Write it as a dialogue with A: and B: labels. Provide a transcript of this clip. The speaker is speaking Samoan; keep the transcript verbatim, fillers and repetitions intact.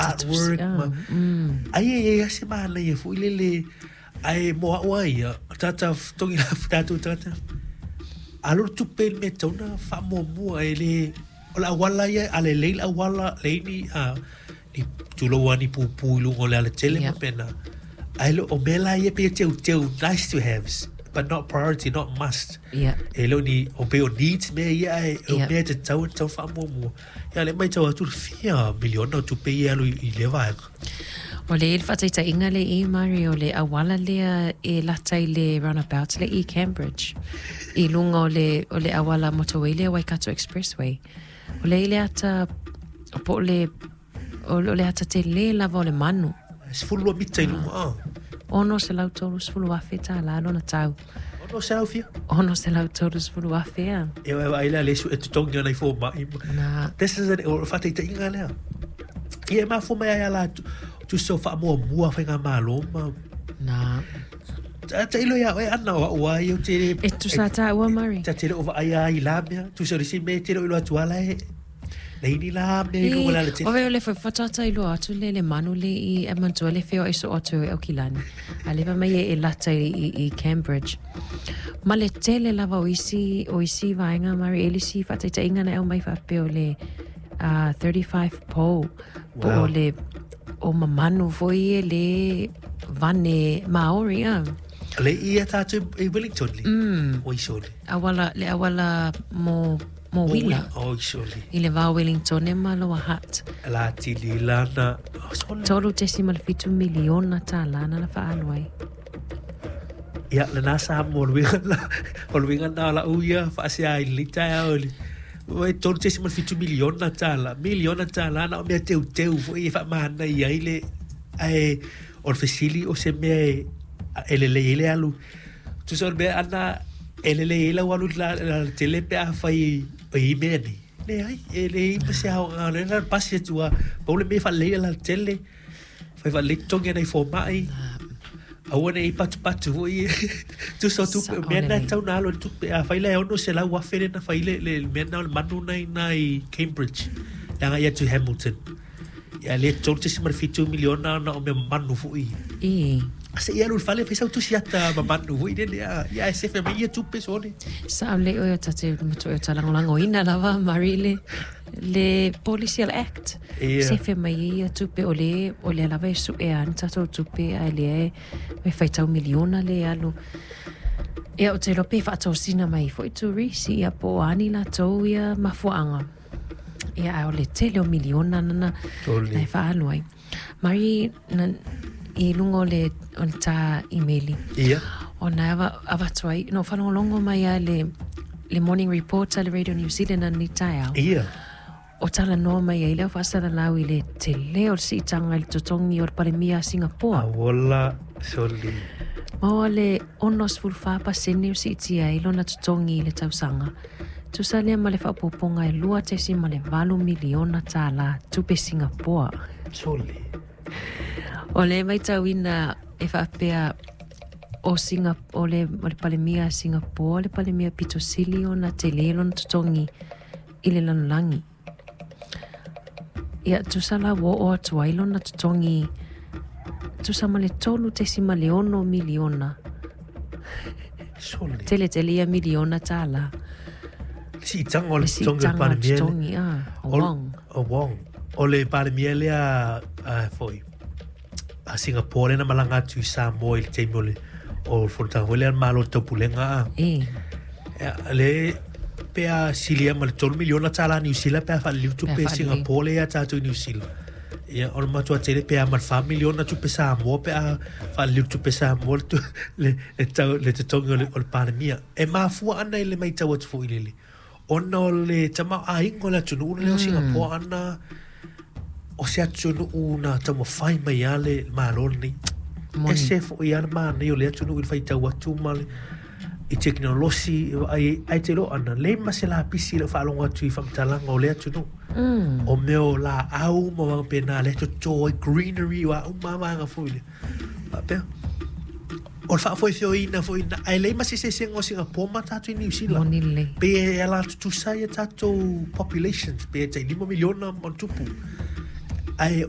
A: Artwork ma ai e ai se manaia foi lele ae mo a'u a ia tagata togi tatou tagata alu le tupe i le mea e tatau ona faamuamua e le o le auala ia a lelei le auala leai ni a ni tulou a ni pupu i luga o le alatele ma pena ae le o mea la ia pei e teuteu, nice to haves but not priority, not must.
B: Yeah.
A: E le o ni o pei o needs mea ia ae o mea e tatau e tatau faamuamua. Ia le matau atu le fia miliona o tupe ia e alu i lea vaega.
B: O le le faataitaiga le i Mari o le auala lea e lata i le roundabout le i Cambridge i luga o le o le auala motorway lea Waikato Expressway. O le i le ata po o le o le ata tele lava o le manu.
A: Sefulu lua mita i luga a.
B: Ono selau tolu sefulu afe tālā lona tau.
A: Ono selau fia?
B: Ono selau tolu sefulu afe a.
A: E oe vaai lea le su e totogi ona i fomai.
B: Na.
A: This is an, o le faataitaiga lea. Ia e mafua mai ai ala tusa o faamuamua faigamalo ma.
B: Na.
A: Tailo ia oe ana o au ai o te.
B: E tusa tāua Mari.
A: Ta te leo vaai ai la mea. Tusa o le isi mea e te leo ilo atu ala e. Nei ni la mea i luga o le alatele.
B: Ove o le fatata i loa atu le le manu le i e mantua le feo e so atu e Aukilani. A leva mai e, e lata i, i, i Cambridge. Ma le tele lava o isi, o isi vaenga Mari e lisi faataitaiga na au mai faapea o le uh, thirty-five po. Po
A: Wow.
B: o le o mamanu foi e le vane Maori a.
A: Le ia tātou i Wellington le?
B: Mm.
A: O isole.
B: Awala, le awala mo, mo Wila.
A: O isole.
B: I le vao Wellington e ma Lower Hutt.
A: La tili lana. O sole.
B: Tolu decimal fitu miliona tālā na na whaalu ai.
A: Ia, le nā sa mo le winga la, o le winga nā la uia, whaasea i le tae o le. Oi, tolu decimal fitu miliona tālā. Miliona tālā na o mea teu teu foi e whaamahana i ai le, ae, o le fesili o se mea e, e lelei ai le alu. Tusa o le mea ana, e lelei ai lau alu la, la, la tele pe a whai o i mea nei. Le ai, e le i pa se hao ngā le na pasi atua, pau le mea whalei la tele, whai whalei tongi anai fōmai. Aua nei patu patu foi. Tusa o tupe,
B: Sa-
A: mea na
B: ole.
A: tau na alo le tupe. A whai le ono se lau afe le na whai le, le mea na o le manu nei na i Cambridge. Le anga ia tu Hamilton. Ia le tolu tesi ma le fitu miliona na o mea manu foi.
B: I.
A: Se ia alu le fale, whai sau tusi ata ma manu foi le le a. Ia e sefe mai ia tupe sole.
B: Sa au le oe o tate matu o talangolango ina lava, Mari, le, le Policial Act.
A: Ia.
B: Sefe mai ia tupe o le, o le lava e su e ani tatou tupe a le e me whaitau miliona le alu. Ia o te lope whaatosina mai foi turisi ia po ani la tau ia mafuanga. Ia a o le tele o miliona nana
A: Tole.
B: na e whaalu ai. Mari, na, i lunga o le, o le tā imeli.
A: Ia.
B: O na ava, avatu ai, no whanongolongo mai a le, le morning report a le Radio New Zealand ani taeao.
A: Ia.
B: O tala noa mai ai leo whaasara lau i le te leo le siitanga i le totongi o le palemia a Singapore.
A: Awola soli.
B: Maua le ono sefulu wha pasene o siitia i lona totongi i le tausanga. Tusa lea ma le whaapoponga e lua tesi ma le valu miliona tālā tupe Singapore.
A: Soli.
B: O le maitauina e whaapea o, Singa, o, le, o le palemia a Singapore, le palemia pito sili o na te le lona totongi i le lanolangi. Ia, tusa la wo o atu ai lona totongi, tusa ma le tolu tesi ma le ono miliona.
A: Soli.
B: Tele tele ia miliona tālā.
A: Si itanga o le
B: Le si
A: totongi o le
B: itanga o le
A: palemia le.
B: totongi, ah, o
A: O-
B: Wong.
A: O Wong. O le palemia lea, a, foi, a Singapore na malanga atu i Samoa i le taimi o le, o le fonotaga foi lea malo le taupulega a.
B: E.
A: Ia, le pe a silia ma le tolu miliona tālā New Zealand pe a whaliliu tupe
B: Pe a whaliliu.
A: Singapore le ia tātou i New Zealand. Ia, o le matua tele pe a ma le wha miliona tupe Samoa pe a whaliliu tupe Samoa le tu-, le, le tau, le totongi o le, o le palemia. E mafua ana i le maitau atu foi lele. Ona o le tama a ingo le atunuu le o Singapore ana o se atunuu na taumafai mai a le malo lenei.
B: Moni.
A: E se foi a le mānei o le atunuu i le faitau atu ma le i teknolosi, ai, ai te loa ana, le ma se la pisi le whaalongo atu i whamtalanga o le atunuu.
B: Mm.
A: O mea o la au ma wanga pēnā le toto ai greenery o au ma wanga foi le. Wapea. O le whaafoe ina foi ina, ai le ma se se senga o Singapore ma tātou i New Zealand.
B: Moni le.
A: Pe e ala tutusa ia tātou populations, pe e tai lima miliona ma tupu. Ai